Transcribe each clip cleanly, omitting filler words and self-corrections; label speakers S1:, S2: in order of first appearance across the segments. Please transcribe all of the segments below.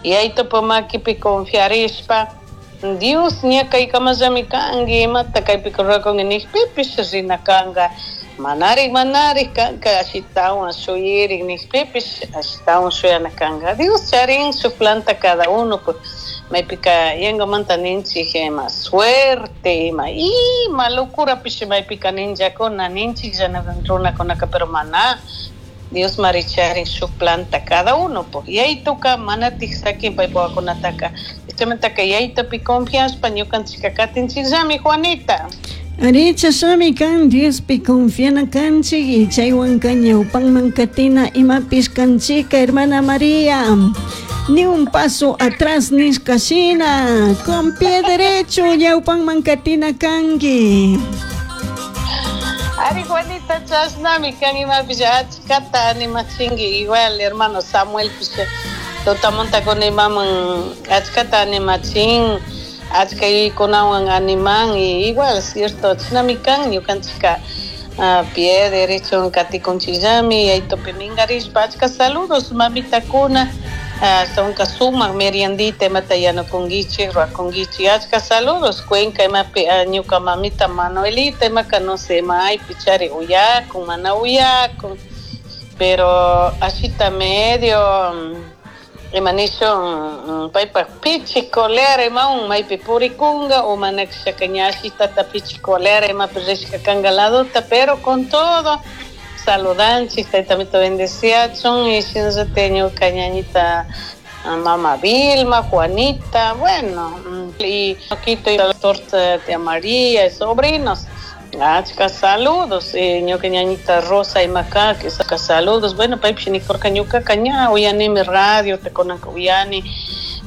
S1: Yayitupa makipi confiarishpa Dios ña kaykamallami kanki, imata kaypika rurakunki nijpipish rina kanka. Manarik, manarik kanka ashitawan shuyirik nijpipish ashitawan shuyana kanka. Dios charin shuk planta cada uno, pues maypika yangamanta ninchik ima suerte, ima ima locurapish maypika ninllakuna ninchiklla runakunaka, pero mana Dios mari charin shuk planta cada uno, pues yayituka manatik sakin paypa wawakunataka. Chaymantaka yayitupi confiashpa ñukanchikka katinchikllami, Juanita.
S2: Ari, chashnami kan, Diospi confiana kanchik y chaywanka ñawpanman katina imapish kanchika, hermana María. Ni un paso atrás nishka shina, con pie derecho ñawpanman katina kanki.
S1: Ari, Juanita, chashnami kan, imapish achkata animachinki, igual hermano Samuelpish tutamuntakuna imaman achkata animachin, achka yuyaykunawan animan, y igual cierto chashnami kan, ñukanchikka pie derecho katikunchikllami yayitupi minkarishpa. Achka saludos mamitakuna, ashtawanka sumak meriendita imata yanukunkichik, rurakunkichik. Achka saludos Cuenca imapi ñuka mamita Manuelita imaka no sé maypi chari uyakun, mana uyakun, pero ashita medio ima nishun paypak pichi colera imawan maypi purikunga o mana kashaka ña ashitata pichi colera imapi rishka kanka ladota, pero con todo saludanchik, taytamito bendeciachun. Y shinallatik ñuka ñañita mama Vilma, Juanita, bueno, y Quito y la torta tía María y sobrinos. Achka saludos, ñuka ñañita Rosa imaka, que saca saludos. Bueno, paypish nikurka ñukaka ña uyanimi radio, te kunanka uyani,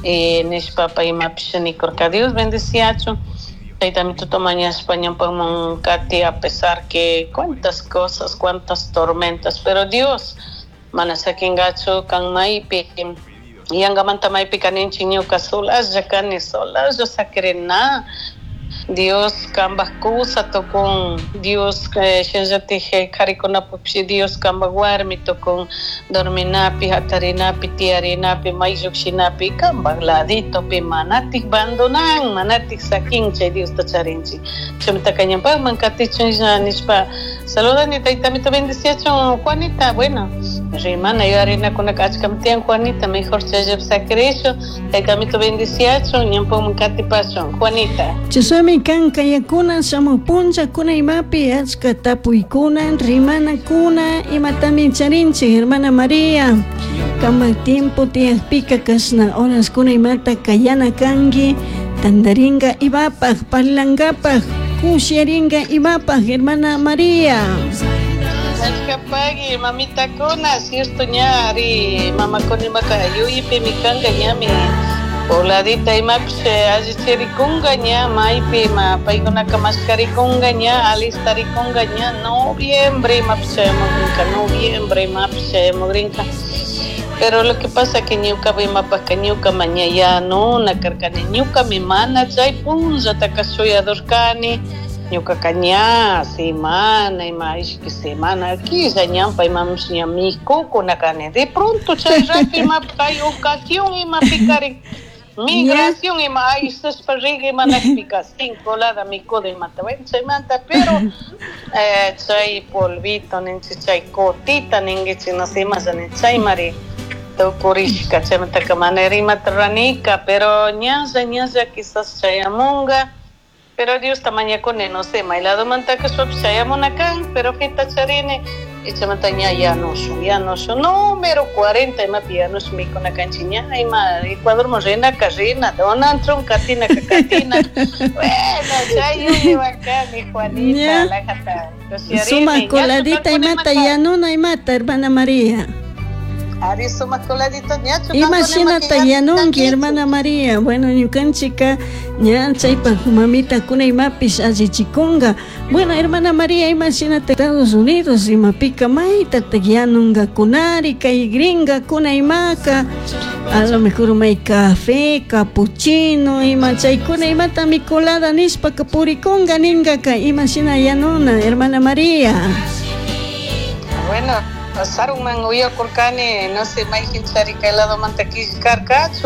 S1: nishpa pay imapish nikurka. Dios bendeciachun. Taytamito mañashpa ñawpaman kati, a pesar que cuántas cosas, cuántas tormentas, pero Dios mana sakingachu kan maypi yangamanta maypi kaninchik ñuka solaslla kani, solaslla sakirina. Dios kambaj kusa tukun, Dios shinallatik karikunapish Dios kambaj warmi tukun, dorminapi, hatarinapi, tiyarinapi, may llukshinapi, kambaj laditopi manatik abandonan, manatik sakin, chay Diosta charinchik. Chaymantaka ñawpakman katichun nishpa saludani, taytamito bendeciachun, Juanita. Bueno, rimana yuyarinakunaka achkami tiyan, Juanita, mejor chayllapi sakirishun. Taytamito bendeciachun, ñawpakman katipashun, Juanita.
S2: Chashnami kan kayakuna shamuj punllakuna imapi achka tapuykuna, rimanakuna imatami charinchik, hermana María. Kamak tiempo tiyakpika kashna horaskuna imata kayana kanki, tandaringa imapaj, parlankapaj, kushiyaringa imapaj, hermana María.
S1: Achkapagui mamitakuna, cierto ña ari mamakuna imaka yuyipimi kanka ñami voladita imapish allichirikunga ña maypi ima paykunaka mashkarikunga ña alistarikunga ña noviembre imapish chayamukrinka, noviembre imapish chayamukrinka. Pero lo que pasa que ñuka imapajka ñuka maña yanuna karkani, ñukami mana chay punllataka shuyadurkani, ñukaka ña semana ima ishki semana killa ñampa imapish ña mikukuna kani, de pronto chay rato imapi kay ocasión imapi karin migración ima aysashpa rik imanakpika sin colada mikudo imata, bueno, chaymanta, pero chay polvito ninchik, chay cotita ninkichik, no sé imasha nin, chaymari tukurishka, chaymantaka mana rimata ruranika, pero ñalla ñalla quizás chayamunga, pero Diosta mañakuni, no sé, may ladomantaka shukpish chayamuna kan, pero feta charini, y chaymanta ña yanushun, yanushun, número 40 imapi yanushun mikuna kanchik, ña ima Ecuadorman rinaka rina, Donald Trump katinaka katina, bueno, chay yuyaywan kani, Juanita, lajata kushiyarini.
S2: Sumak coladita imata yanuna imata, hermana María.
S1: Ari sumak coladita ñachu
S2: Ima shinata yanunki, hermana María? Bueno, ñukanchika ña chaypak mamitakuna imapish allichikunga. Bueno, hermana María, ima shinata Estados Unidos imapika maytatak yanungakunari kay gringakuna imaka, a lo mejor may café, capuchino, ima chaykuna imatami colada nishpaka purikunga ningaka, ima shina yanuna, hermana María?
S1: Bueno, sarunman uyakurkani, no sé, mayjin chari kay ladomanta killkarkachu.